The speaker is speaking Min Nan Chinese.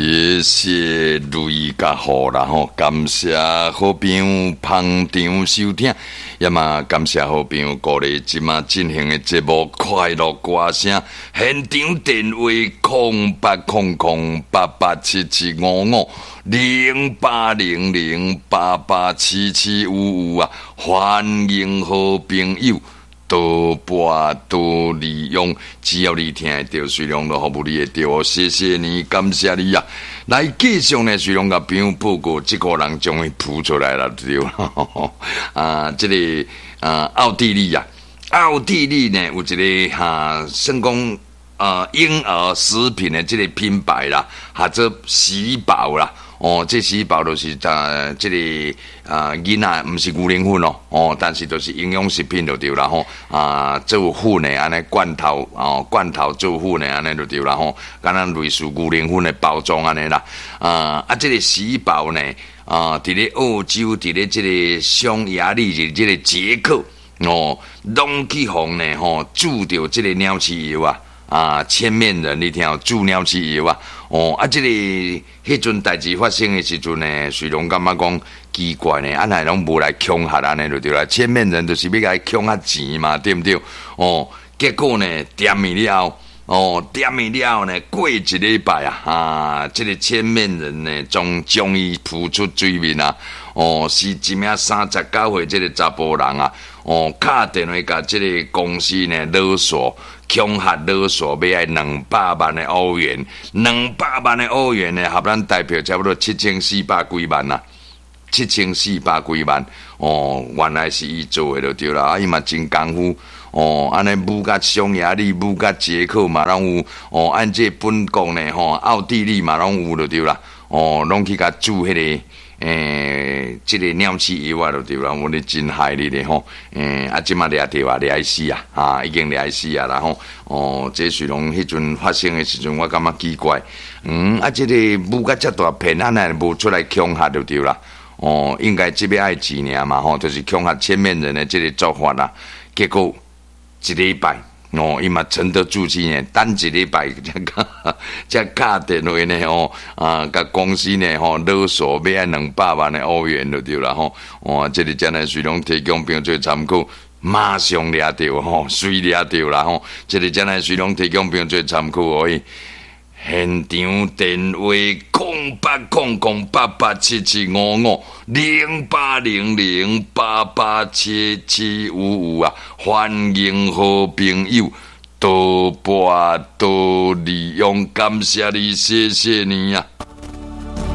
謝謝雷佮雨啦吼，感謝好朋友捧場收聽，也嘛感謝好朋友鼓勵這馬進行的節目《快樂歌聲》，現場電話08008877550800887755啊，歡迎好朋友多撥多利用，只要你聽會著，隨量都服務你會著哦。謝謝你，感謝你啊！來繼續呢，隨量共朋友報告，這個人終於浮出來了，對啊，這個啊，奧地利啊，奧地利呢有一個哈，算講啊嬰兒食品的這個品牌啦，號做喜寶啦。哦，這喜寶就是啊，這個啊囡仔毋是牛奶粉哦，哦，但是就是營養食品就對啦吼，啊做粉的按呢罐頭哦，罐頭做粉的按呢就對啦吼，敢若類似牛奶粉的包裝按呢啦，啊啊，這個喜寶呢，啊，佇咧澳洲，佇咧這個匈牙利，是這個捷克哦，攏去予呢吼注著這個鳥鼠藥啊。啊，千面人，你聽有注鳥鼠藥啊？哦，啊，這個彼陣代誌發生的時陣呢，雖然感覺講奇怪呢，啊，若攏無來恐嚇按呢就對啦。千面人就是欲共伊恐嚇錢嘛，對毋對？哦，結果呢，掂去了，哦，掂去了呢，過一禮拜啊，啊，這個千面人呢，終終於浮出水面啊！哦，是一名39歲這個查埔人啊，哦，敲電話共這個公司呢勒索。恐嚇勒索欲愛兩百萬的歐元，兩百萬的歐元呢，合咱台幣差不多七千四百幾萬啊，七千四百幾萬哦，原來是伊做的就對啦，啊，伊嘛真功夫哦，按呢舞共匈牙利、舞共捷克嘛攏有哦，按這本國呢吼，奧地利嘛攏有就對啦，哦，攏去共注彼個。欸，這個鳥鼠藥啊，就對啦，我咧真害你咧吼。欸，啊，這馬掠著啊，掠死啊，啊，已經掠死啊啦吼。哦，這是攏彼陣發生的時陣，我感覺奇怪。嗯，啊，這個舞甲遮大騙案，若無出來恐嚇就對啦。哦，應該這欲愛錢爾嘛吼，就是恐嚇千面人的這個做法啦。結果一禮拜。哦，伊嘛沉得住氣呢，等一禮拜才才敲電話呢吼，啊，共公司呢吼勒索欲愛兩百萬的歐元就對啦吼，哇，這個真的是攏提供朋友做參考，馬上掠著吼，隨掠著啦吼，這個真的是攏提供朋友做參考而已。現場電話08008877550800887755啊，歡迎好朋友多撥多利用，感謝你，謝謝你啊！